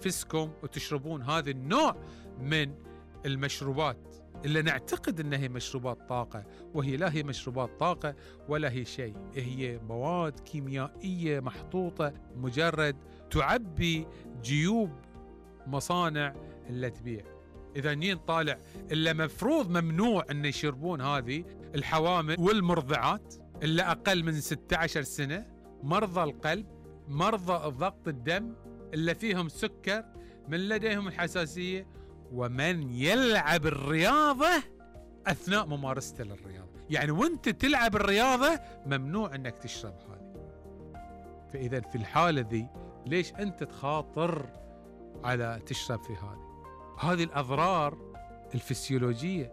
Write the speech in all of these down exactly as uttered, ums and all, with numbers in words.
تنافسكم وتشربون هذا النوع من المشروبات اللي نعتقد أنها هي مشروبات طاقة، وهي لا هي مشروبات طاقة ولا هي شيء، هي مواد كيميائية محطوطة مجرد تعبي جيوب مصانع اللي تبيع. إذا نين طالع إلا مفروض ممنوع أن يشربون هذه الحوامل والمرضعات اللي أقل من ستة عشر سنة، مرضى القلب، مرضى ضغط الدم، اللي فيهم سكر، من لديهم الحساسية، ومن يلعب الرياضة أثناء ممارسته للرياضة. يعني وانت تلعب الرياضة ممنوع أنك تشرب هذه. فإذا في الحالة ذي ليش أنت تخاطر على تشرب في هذه؟ هذه الأضرار الفسيولوجية.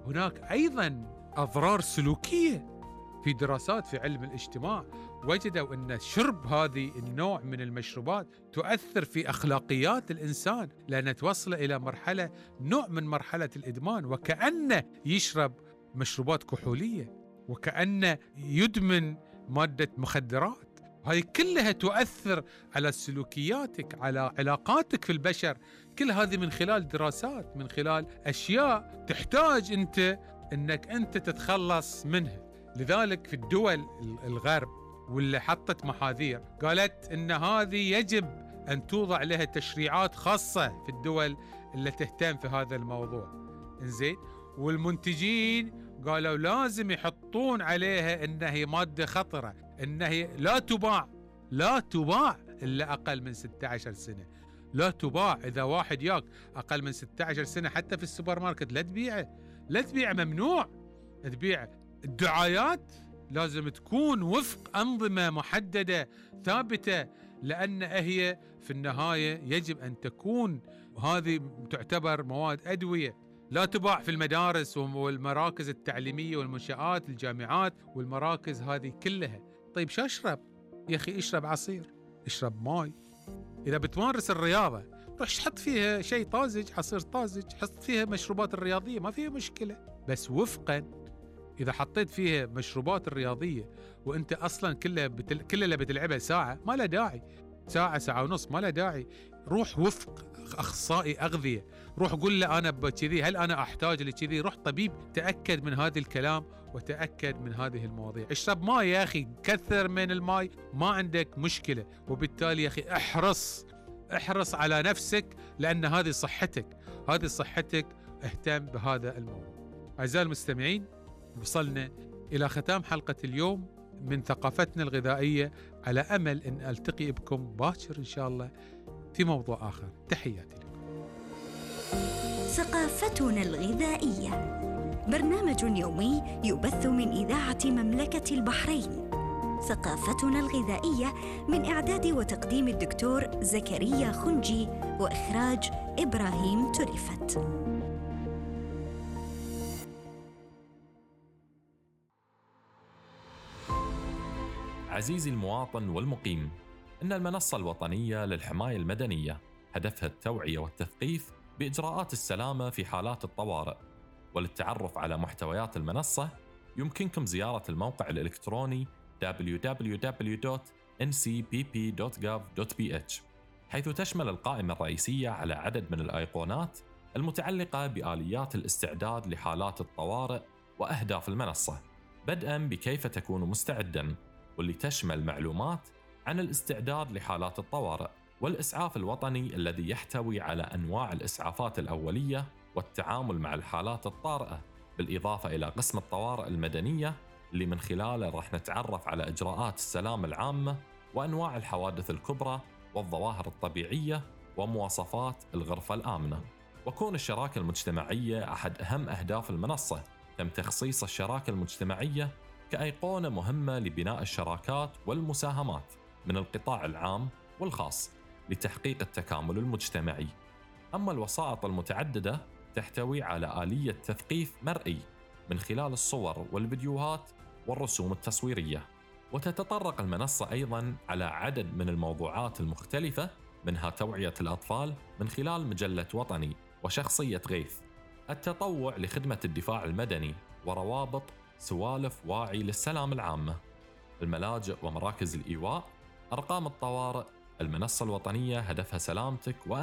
هناك أيضا أضرار سلوكية. في دراسات في علم الاجتماع وجدوا أن شرب هذه النوع من المشروبات تؤثر في أخلاقيات الإنسان، لأنها توصل إلى مرحلة نوع من مرحلة الإدمان، وكأنه يشرب مشروبات كحولية، وكأنه يدمن مادة مخدرات. هاي كلها تؤثر على سلوكياتك، على علاقاتك في البشر. كل هذه من خلال دراسات، من خلال أشياء تحتاج أنت أنك أنت تتخلص منها. لذلك في الدول الغرب واللي حطت محاذير قالت أن هذه يجب أن توضع لها تشريعات خاصة في الدول اللي تهتم في هذا الموضوع. إنزين، والمنتجين قالوا لازم يحطون عليها أنها مادة خطرة، أنها لا تباع لا تباع إلا أقل من ستة عشر سنة، لا تباع. إذا واحد ياك أقل من ستة عشر سنة حتى في السوبر ماركت لا تبيعه، لا تبيعه، ممنوع تبيعه. الدعايات لازم تكون وفق أنظمة محددة ثابتة، لأن هي في النهاية يجب أن تكون هذه تعتبر مواد أدوية، لا تباع في المدارس والمراكز التعليمية والمنشآت الجامعات والمراكز هذه كلها. طيب شو أشرب؟ يا أخي اشرب عصير، اشرب ماي. إذا بتمارس الرياضة روح حط فيها شيء طازج، عصير طازج، حط فيها مشروبات الرياضية، ما فيها مشكلة، بس وفقا. إذا حطيت فيها مشروبات الرياضية وأنت أصلا كلها بتل... كل اللي بتلعبها ساعة، ما له داعي. ساعة ساعة ونص ما له داعي. روح وفق أخصائي أغذية، روح قل له أنا بكذي، هل أنا أحتاج لكذي؟ روح طبيب تأكد من هذا الكلام وتأكد من هذه المواضيع. اشرب ماء يا أخي، كثر من الماء، ما عندك مشكلة. وبالتالي يا أخي احرص احرص على نفسك، لأن هذه صحتك، هذه صحتك، اهتم بهذا الموضوع. أعزائي المستمعين، وصلنا إلى ختام حلقة اليوم من ثقافتنا الغذائية، على أمل أن ألتقي بكم باكر إن شاء الله في موضوع آخر. تحياتي لكم. ثقافتنا الغذائية برنامج يومي يبث من إذاعة مملكة البحرين. ثقافتنا الغذائية من إعداد وتقديم الدكتور زكريا خنجي، وإخراج إبراهيم تريفت. عزيزي المواطن والمقيم، إن المنصة الوطنية للحماية المدنية هدفها التوعية والتثقيف بإجراءات السلامة في حالات الطوارئ. وللتعرف على محتويات المنصة يمكنكم زيارة الموقع الإلكتروني دبليو دبليو دبليو دوت إن سي بي بي دوت جوف دوت بي إتش، حيث تشمل القائمة الرئيسية على عدد من الأيقونات المتعلقة بآليات الاستعداد لحالات الطوارئ وأهداف المنصة، بدءاً بكيف تكون مستعداً، واللي تشمل معلومات عن الاستعداد لحالات الطوارئ، والإسعاف الوطني الذي يحتوي على أنواع الإسعافات الأولية والتعامل مع الحالات الطارئة، بالإضافة إلى قسم الطوارئ المدنية اللي من خلاله راح نتعرف على إجراءات السلامة العامة وأنواع الحوادث الكبرى والظواهر الطبيعية ومواصفات الغرفة الآمنة. وكون الشراكة المجتمعية أحد أهم أهداف المنصة، تم تخصيص الشراكة المجتمعية كأيقونة مهمة لبناء الشراكات والمساهمات من القطاع العام والخاص لتحقيق التكامل المجتمعي. أما الوسائط المتعددة تحتوي على آلية تثقيف مرئي من خلال الصور والفيديوهات والرسوم التصويرية. وتتطرق المنصة أيضاً على عدد من الموضوعات المختلفة، منها توعية الأطفال من خلال مجلة وطني وشخصية غيث، التطوع لخدمة الدفاع المدني، وروابط سوالف واعي للسلام العامة، الملاجئ ومراكز الإيواء، أرقام الطوارئ. المنصة الوطنية هدفها سلامتك وأمنك.